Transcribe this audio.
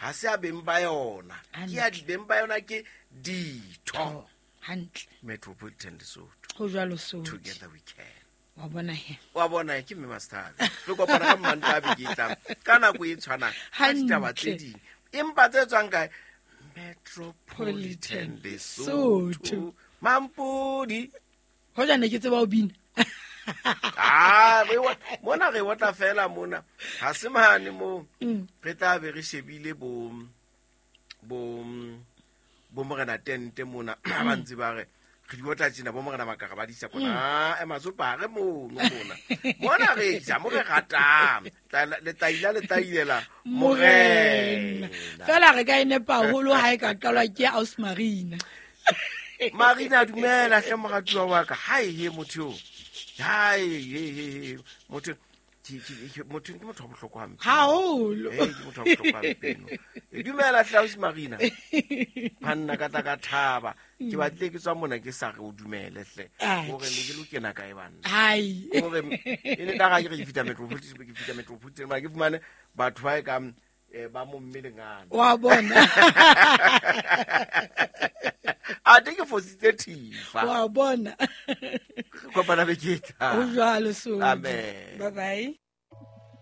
Ga se a beng ba yona, ke ya beng ba yona, ke ditho. Hantle. Metropolitan Lesotho. Ho jwalo, so Together we can. Wa bona he. Wa bona, ke mme Mastabe. Re kopana ka Mmanto a beke e tlang ka nako e tshwanang ka ditaba tse ding, empa tse tswang kae? Metropolitan Lesotho. Mampodi. Hoja ne ke tseba ho bina. Ah, mona re otla fela mona, ga se mane mo re tla be re shebile bo morena tente mona ba ntse ba re re di otla tjena, bo morena makara ba disa kona ematsopare mono. Mona re ja mo re ratang, letaila le tailela morena. Fela re ka e nepa haholo ha e ka qalwa ke aus Marina. Marina, dumela hle, moratuwa wa ka. Hai he, motho eo, hai he he he, motho motho ke motho wa bohlokwa hampe. Haholo. Ee, ke motho wa bohlokwa hampe eno. Dumela hle, ausi Marina. Banna, ka tla ka thaba ke batlile ke tswa mona ke sa re o dumele hle, gore ne ke lo kena kae, banna? Hai. Gore e ne ka ga ke re ke fihla Metropolitan, ke fihla Metropolitan, mara ke fumane batho ba e kang ba mo mmelengana. Wa bona. Ate ke fositse thifa. Wa bona. Kopana be ke tla. Ho jwalo, so Amen. Bye bye.